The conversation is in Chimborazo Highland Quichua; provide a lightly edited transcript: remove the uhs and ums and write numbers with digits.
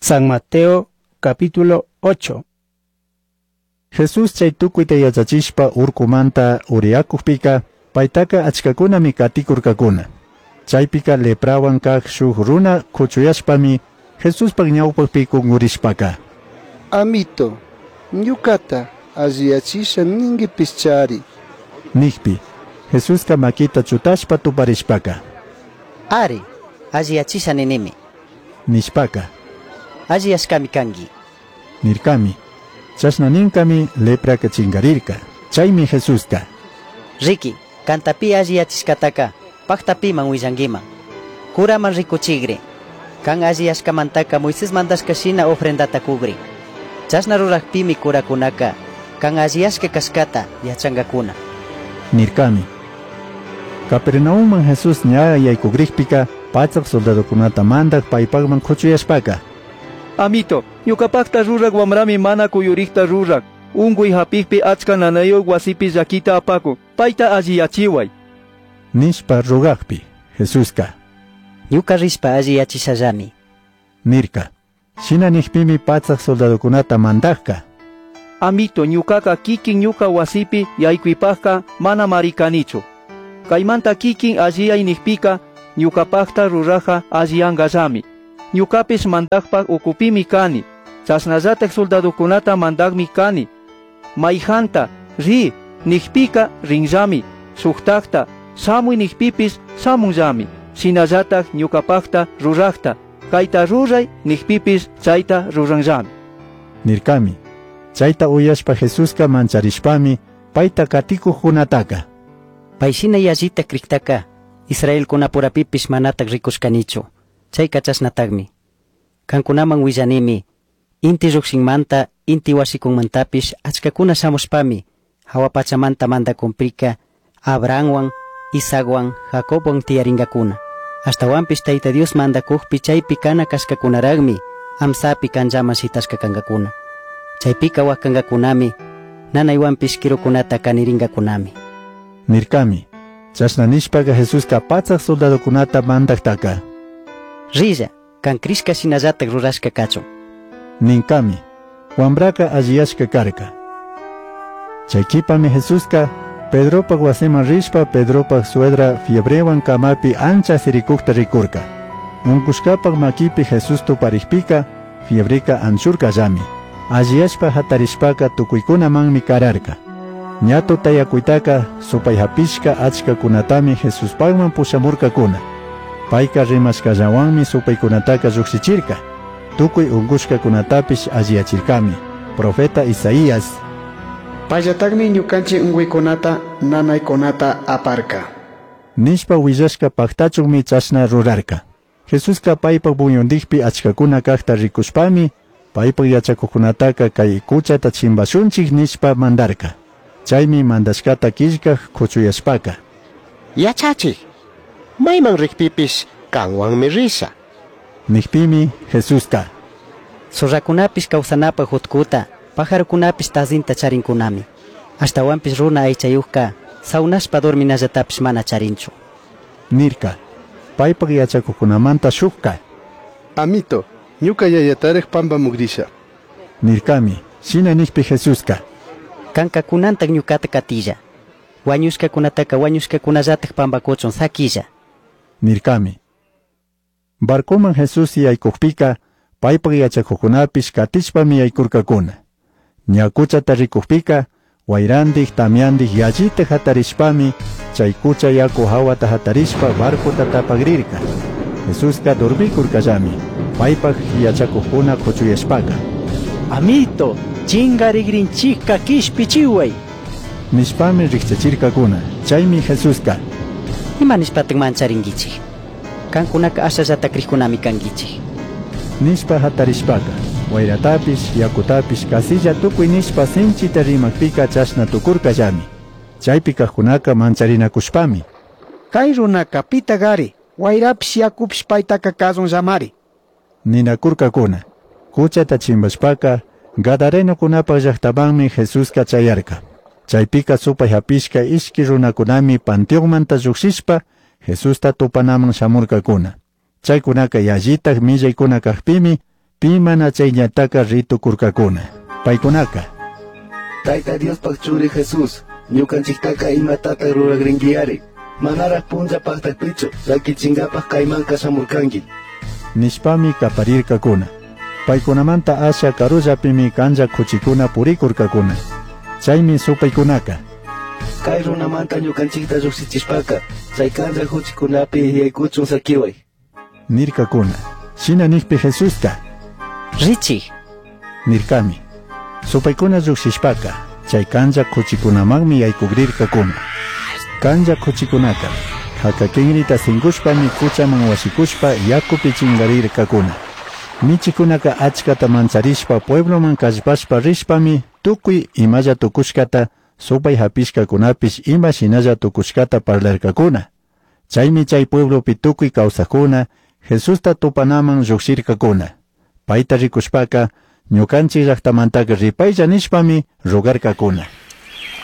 San Mateo capítulo 8. Jesús chay tukuyta yachachishpa urkumanta uriyakukpika paytaka achkakunami katikurkakuna. Chaypika leprawan kaq shuk runa kuchuyashpami Jesuspaq ñawpaqpi kunkurishpaka. Amito, ñucata alliyachisha ninguipishchari. Nikpi, Jesuska makita chutashpa tuparishpaka. Ari, alliyachisha ninimi. Nishpaka. Alliyashkami kanki. Nirkami. Chashna ninkami lepraka chingarirka. Chaymi Jesuska. Riki, kanta pi alliyachishkataka pakta piman willankiman. Curaman rikuchigri. Kan alliyashkamantaka Moisés mandashka shina ofrendata kugri. Chashna rurakpimi curakunaka kan alliyashka kashkata yachankakuna. Nirkami. Capernaumman Jesús ña yaykugrikpika pachak soldadokunata mandak paypakman kuchuyashpaka. Amito, ñuqapaqta ruraq wamrami mana kuyurikta ruraq. Unquy hapikpi achka nanayuq wasipi llakita apakun. Payta alliyachiway. Nishpa rugakpi Jesuska. Ñuka rishpa alliyachishallami. Nirka. Shina nikpimi pachak soldadokunata mandakka. Amito, ñuqaqa kikin ñuqa wasipi yaykuypaqqa mana marikanichu. Kaymanta kikin alliyay nikpika ñuqapaqta ruraqqa alliyanqallami. Ñuqapish mandaqpaq ukupimi kani. Chashnallataq soldadokunata mandaqmi kani. Mayhanta ri nikpika rinllami. Shuktaqta shamuy nikpipis shamunllami. Shinallataq ñuqapaqta ruraqta kayta ruray nikpipis chayta ruranllami. Nirkami. Chayta uyashpa Jesuska mancharishpami payta katikuqkunataka. Payshina yallita kriktaka Israelkunapurapipish manataq rikushkanichu. Chayka chashnataqmi. Kankunaman willanimi inti lluqshinmanta inti wasikunmantapish achkakuna shamushpami hawa pachamanta mandakunpika Abrahamwan, Isaacwan, Jacobwan tiyarinkakuna. Ashtawanpish Tayta Dios mandakukpi chaypi kana kashkakunaraqmi amsapi kanllaman shitashka kankakuna. Chaypika wakankakunami nanaywanpish kirukunata kanirinkakunami. Nirkami. Chashna nishpaka Jesuska pachak soldadokunata mandaktaka. Rilla, kan krishka shinallatak rurashka kachun. Ninkami. Wambraka alliyashka karka. Chay kipami Jesuska Pedropak wasiman rishpa Pedropak suegra fiebrewan kamapi ancha sirikukta rikurka. Unkushkapak makipi Jesús tuparikpika fiebreka anchurkallami. Alliyashpa hatarishpaka tukuykunamanmi kararka. Ña tutayakuytaka supay hapishka achkakunatami Jesuspakman pushamurkakuna. Payka rimashkallawanmi supaykunataka llukshichirka. Tukuy unkushkakunatapish alliyachirkami. Profeta Isaías. Payllatakmi ñukanchik unquykunata nanaykunata aparka. Nishpa willashka paktachunmi chashna rurarka. Jesuska paypak buyundikpi achkakuna kaqta rikushpami paypak yachakuqkunataka kay kuchata chimpashunchik nishpa mandarka. Chaymi mandashkata killkaq kuchuyashpaka. Yachachik, mayman rikpipish kanwanmi risha. Nikpimi Jesuska. Zorrakunapish kawsanapaq utkuta, pajarokunapish tazinta charinkunami. Ashtawanpish runa aychayuqka sawnashpa dorminallatapish mana charinchu. Nirka. Paypak yachakuqkunamanta shukka. Amito, ñuka yayataraq pampamukrisha. Nirkami. Shina nikpi Jesuska. Kanka kunantak ñukata katilla. Wañushkakunataka wañushkakunallatak pampakuchun sakilla. Nirkami. Barcoman Jesús yaykukpika paypak yachakuqkunapish katishpami yaykurkakuna. Ña kuchata rikukpika wayrandik tamyandik yallita hatarishpami chay kucha yaku hawata hatarishpa barcota tapagrirka. Jesuska dormikurkallami paypak yachakuqkuna kuchuyashpaka. Amito, chingarigrinchikka kishpichiway. Nishpami rikchachirkakuna. Chaymi Jesuska. Ima nishpatak mancharinkichik. Kankunaka ashallata krikkunami kankichik. Nishpa hatarishpaka wayratapish yakutapish kasilla tukuy nishpa sinchita rimakpika chashna tukurkallami. Chaypi kaqkunaka mancharinakushpami. Kay runaka pitagari, wayrapish yakupish paytaka kasunllamari. Ninakurkakuna. Kuchata chimpashpaka Gadarenokunapaq llaqtamanmi Jesuska chayarka. Chaypika supay hapishka ishki runakunami panteonmanta lluqshishpa Jesusta tupanaman shamurkakuna. Chaykunaka yallitaq millaykuna kaqpimi Pi mana chay ñantaka ri tucurcacuna. Paicunaca. Taita Diospaj churi Jesús, ñukanchiktaka imatata ruragringuiari. Manaraj punlla pajtakpichu, llaquichingapaj kaymanka shamurkanki. Nishpami kaparirkakuna. Paykunamanta asha karullapimi canlla kuchikuna purikurkakuna. Chaymi supaykunaka. Kay runamanta ñukanchikta llukshichishpaka, chay canlla kuchikunapi yaykuchun sakiway. Nirkakuna. Shina nikpi Jesuska. Richij. Nirkami. Supaykuna llukshishpaka, chay canlla kuchikunamanmi yaykugrirkakuna. Canlla kuchikunaka, hakakinrita sinkushpami kuchaman washikushpa yakupi chingarirkakuna. Michikunaka achkata mancharishpa puebloman kallpashpa rishpami tukuy imalla tukushkata supay hapishkakunapish ima shinalla tukushkata parlarkakuna. Chaymi chay pueblopi tukuy kawsakuna Jesusta tupanaman llukshirkakuna. Payta rikushpaka ñukanchik llaktamantaka ripaylla nishpami rogarkakuna.